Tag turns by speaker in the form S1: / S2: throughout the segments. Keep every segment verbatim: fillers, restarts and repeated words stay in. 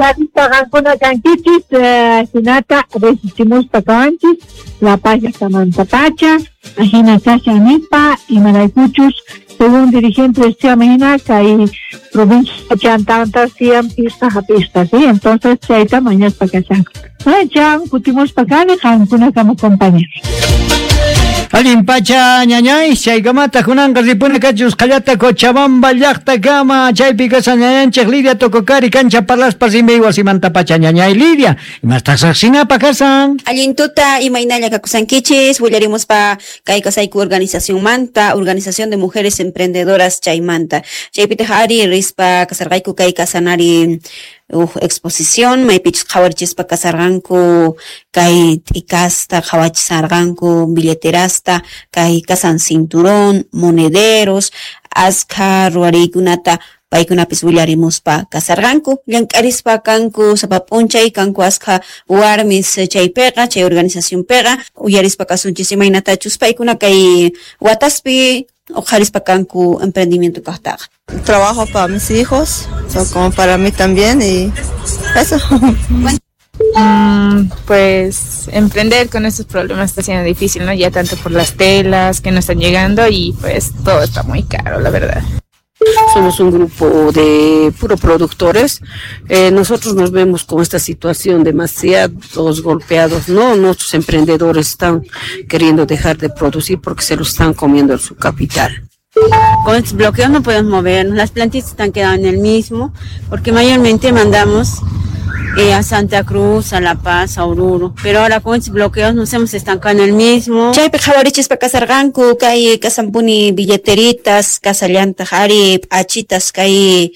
S1: Qankuna kankichis, hinata resistimuspa kawanchis La Paz llaqtamantapacha, ajina kashan nispa, imaraykuchus según dirigente decía kay provincia chantanta siam pista hapista, ¿sí? Entonces chayta mañaspa kashan. Chan kutimuspa kani qankuna kama compañeros.
S2: Allin pacha ñañay, chaykamata kunanqa ripuna kachus qallata Cochabamba llaqtakama, chaypi kashan ñañanchik Lidia Tococari kancha parlaspa rimay wasimanta pacha ñañay Lidia, imastaq saqsinapa kasan.
S3: Allin tuta imaynalla kakusankichis, willarimuspa kay kasayku organización manta, Organización de Mujeres Emprendedoras chaymanta. Chaypitaq ari rispa kasarqayku kay kasanari uh, exposición, maypichus qhawarichispa kasarqanku kay t'ikasta qhawachisarqanku billeterasta, kay kasan cinturón, monederos, askha ruwariykunata paykunapis willarimuspa kasarqanku, llank'arispa kanku sapa p'unchay kanku askha warmis chaypiqa, chay organizacionpiqa, uyarispa kasunchis imaynatachus paykuna kay wataspi uqharispa kanku emprendimiento kaqtaqa.
S4: Trabajo para mis hijos, so como para mí también y eso.
S5: Mm, pues emprender con estos problemas está siendo difícil, ¿no? Ya tanto por las telas que no están llegando y pues todo está muy caro, la verdad.
S6: Somos un grupo de puro productores. Eh, nosotros nos vemos con esta situación demasiados golpeados, ¿no? Nuestros emprendedores están queriendo dejar de producir porque se lo están comiendo en su capital.
S7: Con estos bloqueos no podemos movernos, las plantitas están quedando en el mismo, porque mayormente mandamos eh, a Santa Cruz, a La Paz, a Oruro, pero ahora con estos bloqueos nos hemos estancado en el mismo.
S3: Chaypi qhawarichispa kasarqanku kay kasanpuni billeteritas, kasallantaq ari p'achitas kay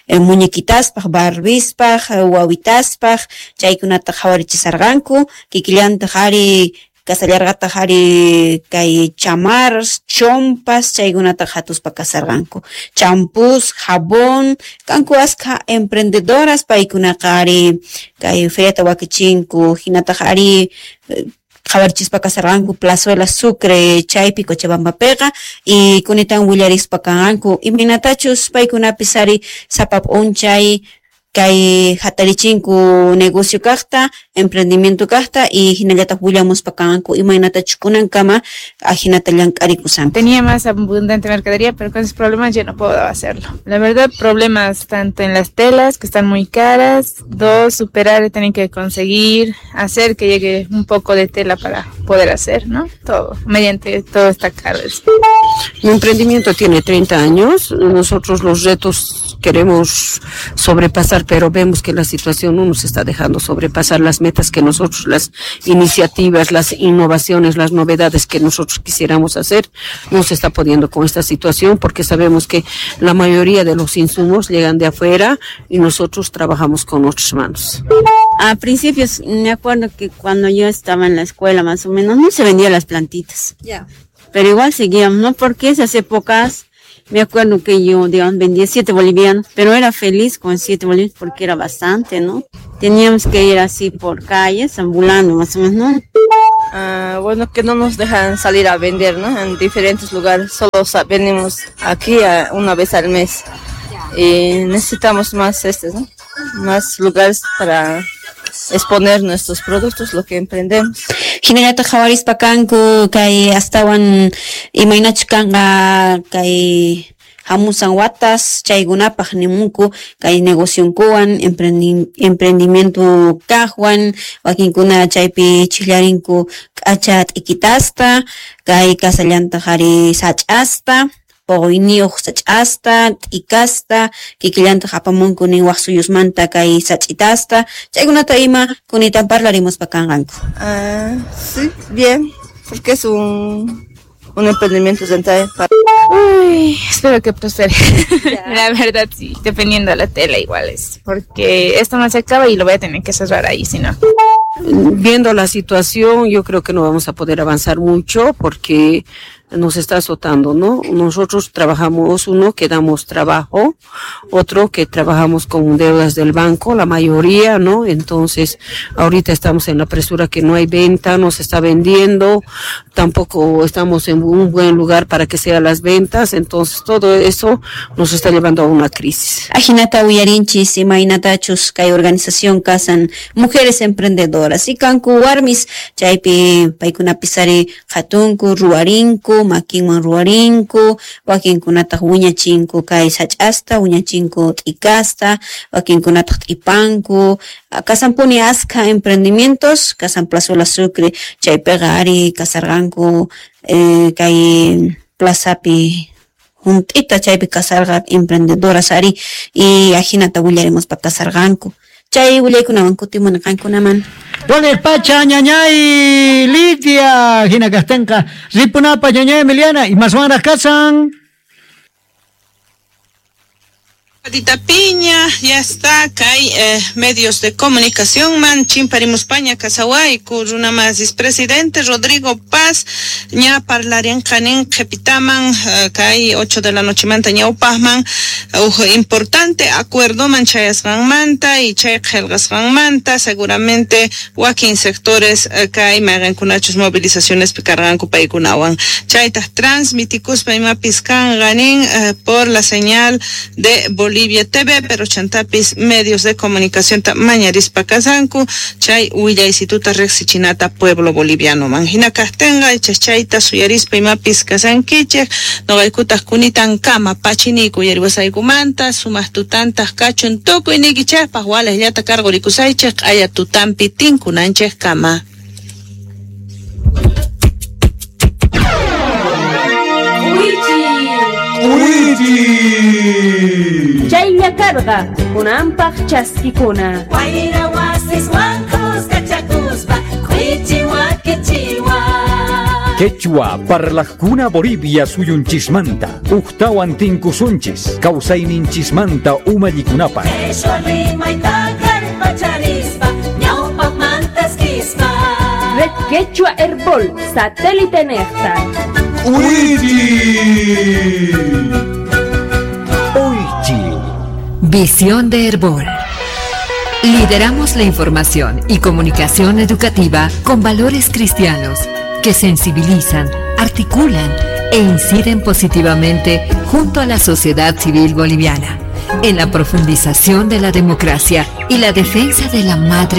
S3: eh, muñequitaspaq, barbispaq, wawitaspaq, chaykunata qhawarichisarqanku, kikillantaq ari kasallarqataq ari kay chamarras, chompas, chaykunata hatuspa kasarqanku. Champús, jabón, kanku askha emprendedoras paykunaqa ari kay feriata wakichinku, hinataq ari qhawarichispa kasarqanku Plazuela Sucre chaypi Cochabambapiqa y kunitan willarispa kanqanku imaynatachus paykunapis ari sapa p'unchay kay hatarichinku negocio kaqta, emprendimiento kaqta y hinallataq willamuspa kanqanku imaynatachus kunankama ajinata llank'arikusanku.
S5: Tenía más abundante mercadería, pero con esos problemas ya no puedo hacerlo. La verdad, problemas tanto en las telas, que están muy caras, dos, superar, tener que conseguir, hacer que llegue un poco de tela para poder hacer, ¿no? Todo, mediante todo está caro.
S6: Mi emprendimiento tiene treinta años, nosotros los retos queremos sobrepasar, pero vemos que la situación no nos está dejando sobrepasar las metas que nosotros, las iniciativas, las innovaciones, las novedades que nosotros quisiéramos hacer, no se está pudiendo con esta situación porque sabemos que la mayoría de los insumos llegan de afuera y nosotros trabajamos con nuestras manos.
S7: A principios, me acuerdo que cuando yo estaba en la escuela más o menos, no se vendían las plantitas.
S3: Ya.
S7: Pero igual seguíamos, ¿no? Porque esas épocas, me acuerdo que yo, digamos, vendía siete bolivianos, pero era feliz con siete bolivianos porque era bastante, ¿no? Teníamos que ir así por calles, ambulando más o menos, ¿no?
S4: Ah, bueno, que no nos dejan salir a vender, ¿no? En diferentes lugares, solo venimos aquí a una vez al mes. Y necesitamos más estos, ¿no? Más lugares para exponer nuestros productos, lo que emprendemos.
S3: Hinallataq qhawarispa kanku kay astawan imaynachus kanqa kay hamusan watas chaykunapaq nimunku kay negocionkuwan emprendi emprendimiento kaqwan wakinkuna chaypi chillarinku k'acha t'ikitasta kay kasallantaq ari sach'asta poqoyniyuq sach'asta, t'ikasta, kikillantaq apamunku nin waq suyusmanta kay sach'itasta, chaykunata ima kunitan parlarimuspa kanqanku.
S4: Ah, sí, bien, porque es un, un emprendimiento rentable. Para...
S5: Uy, espero que prospere. La verdad, sí, dependiendo de la tela igual es, porque esto no se acaba y lo voy a tener que cerrar ahí, si no.
S6: Viendo la situación, yo creo que no vamos a poder avanzar mucho porque Nos está azotando, ¿no? Nosotros trabajamos, uno que damos trabajo, otro que trabajamos con deudas del banco, la mayoría, ¿no? Entonces, ahorita estamos en la presura que no hay venta, no se está vendiendo, tampoco estamos en un buen lugar para que sean las ventas, entonces todo eso nos está llevando a una crisis.
S3: Ajinata uyarinchis imaynatachus kay organización kasan mujeres emprendedoras y kanku warmis chaypi paykunapis ari qhatunku ruwarinku makinwan ruwarinku wakinkunataq wiñachinku kay sach'asta wiñachinku t'ikasta wakinkunataq t'ipanku kasanpuni askha emprendimientos kasan Plazuela Sucre chaypiqa ari kasarqanku eh, kay plazapi junt'ita chaypi kasarqa emprendedoras ari y ajinata willarimuspa kasarqanku chay willaykunawan kutimuni qankunaman.
S2: Wales pacha ñañay Lidia hina kastenqa ripunapa ñañay Emiliana y maswanraq kasan.
S8: Patita Piña, ya está, kay eh, medios de comunicación man, chimparimuspaña kasawayku, runamasis presidente Rodrigo Paz, ña parlarian kanin qhepitaman, eh, kay ocho de la noche manta ñawpaqman, uh, importante acuerdo man chayasqanmanta y chay qhelqasqanmanta, seguramente wakin sectores eh, kay mayqankunachus movilizaciones pikarqanku paykunawan. Chaytaq transmitikuspa imapis kanqanin eh, por la señal de Bolivia Bolivia T V, pero chantapis medios de comunicación ta mañarispa kasanku, chay willaysituta riqsichinata pueblo boliviano man. Hina kaqtinqa ichas chayta suyarispa imapis kasankichik, noqaykutaq kunitan kama pachiniku yariwasaykumanta, sumaq tutantaq kachun tukuy nikichikpaq walaqllata karqurikusaychik q'aya tutampi tinkunanchik kama.
S9: Chaylla karqa kunanpaq chaskikuna.
S10: Wayra wasiswan kuskachakuspa k'uichiwa kichiwa.
S11: Quechua parlaqkuna Bolivia suyunchismanta uqtawan tinkusunchis kawsayninchismanta umallikunapaq.
S10: Quechua rimayta kallpacharispa ñawpaqmanta eskispa.
S9: Red Quechua Herbol satélite nexta.
S11: ¡Uichi! Uichi.
S12: Visión de Herbol. Lideramos la información y comunicación educativa con valores cristianos que sensibilizan, articulan e inciden positivamente junto a la sociedad civil boliviana en la profundización de la democracia y la defensa de la madre